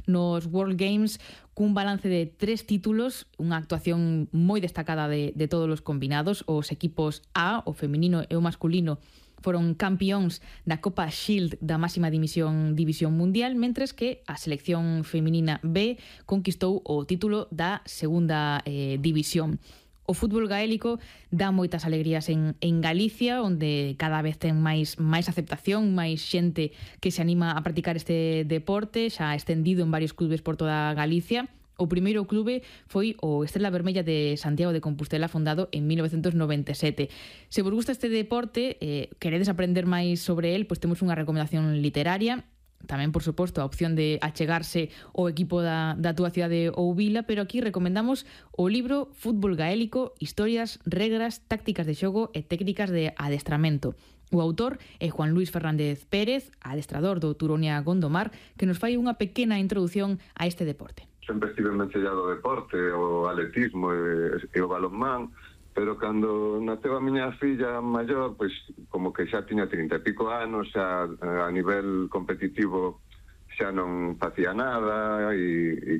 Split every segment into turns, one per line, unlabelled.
nos World Games cun balance de 3 títulos, unha actuación moi destacada de todos os combinados. Os equipos A, o feminino e o masculino, foron campións da Copa Shield da máxima división mundial, mentres que a selección feminina B conquistou o título da segunda división. O fútbol gaélico dá moitas alegrías en Galicia, onde cada vez ten máis aceptación, máis xente que se anima a practicar este deporte, xa estendido en varios clubes por toda Galicia. O primeiro clube foi o Estrela Vermella de Santiago de Compostela, fundado en 1997. Se vos gusta este deporte, queredes aprender máis sobre el, pois temos unha recomendación literaria. Tamén, por suposto, a opción de achegarse ao equipo da túa cidade ou vila, pero aquí recomendamos o libro Fútbol Gaélico, historias, regras, tácticas de xogo e técnicas de adestramento. O autor é Juan Luis Fernández Pérez, adestrador do Turonia Gondomar, que nos fai unha pequena introdución a este deporte.
Sempre estive envencellado ao deporte, o atletismo e o balonmán, pero cando naceu a miña filla maior, pois como que xa tiña 30 e pico anos, xa a nivel competitivo xa non facía nada e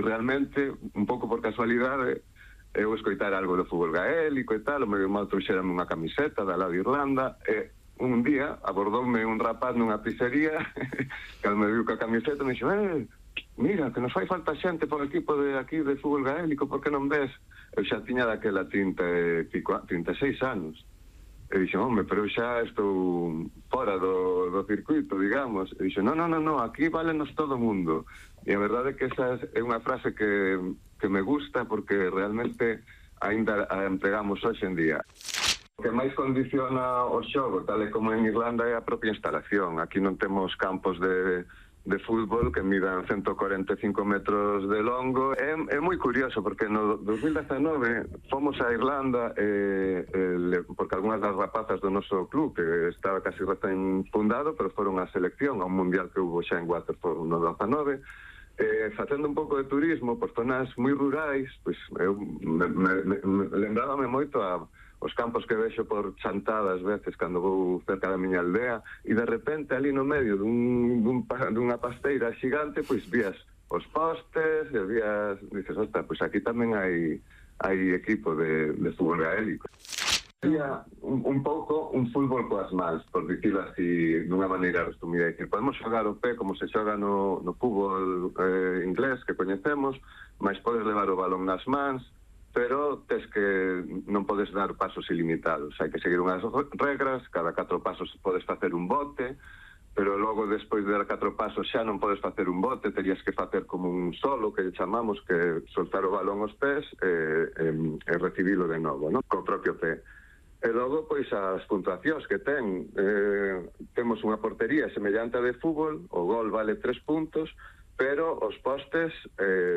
realmente, un pouco por casualidade, eu escoitar algo do fútbol gaélico e tal, o meu irmão trouxerame unha camiseta da Lado de Irlanda e un día abordoume un rapaz nunha pizzería que me viu ca camiseta e me dixo: mira, que nos fai falta xente por equipo de aquí de fútbol gaélico, por que non ves? Eu xa tiña daquela 36 anos. E dixo: home, pero xa estou fora do circuito, digamos. E dixo: no, aquí válenos todo o mundo. E a verdade é que esa é unha frase que me gusta, porque realmente ainda a empregamos hoxe en día. O que máis condiciona o xogo, tal e como en Irlanda, é a propia instalación. Aquí non temos campos de fútbol que midan 145 metros de longo. É moi curioso porque no 2019 fomos a Irlanda porque algunhas das rapazas do noso club, que estaba casi recén fundado, pero foron a selección a un mundial que hubo xa en Waterford no 19, facendo un pouco de turismo por zonas moi rurais, pois eu lembrábame moito os campos que vexo por chantadas veces cando vou cerca da miña aldea, e de repente ali no medio dunha pasteira xigante, pois vías os postes e vías, dices, ostras, pois aquí tamén hai equipo de fútbol gaélico. Sería un pouco un fútbol coas mans, por dicirlo así dunha maneira resumida. Podemos xogar o pé como se xoga no fútbol inglés que coñecemos, mas podes levar o balón nas mans, pero tes que non podes dar pasos ilimitados. Hai que seguir unhas regras, cada 4 pasos podes facer un bote, pero logo despois de dar 4 pasos xa non podes facer un bote, terías que facer como un solo, que chamamos, que soltar o balón aos pés e recibilo de novo, non? Co propio pé. E logo, pois, as puntuacións que temos unha portería semellante a de fútbol, o gol vale 3 puntos, pero os postes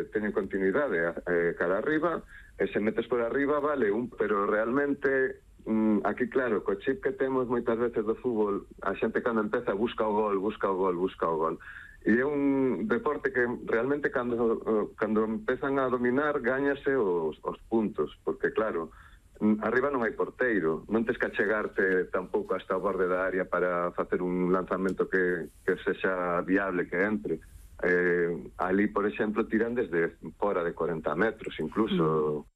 teñen continuidade cara arriba, e se metes por arriba vale pero realmente aquí, claro, co chip que temos moitas veces do fútbol, a xente cando empeza busca o gol. E é un deporte que realmente cando empezan a dominar gañase os puntos, porque claro, arriba non hai porteiro, non tes que achegarte tampouco hasta o borde da área para facer un lanzamento que sexa viable, que entre. Ali, por exemplo, tiran desde fora de 40 metros incluso.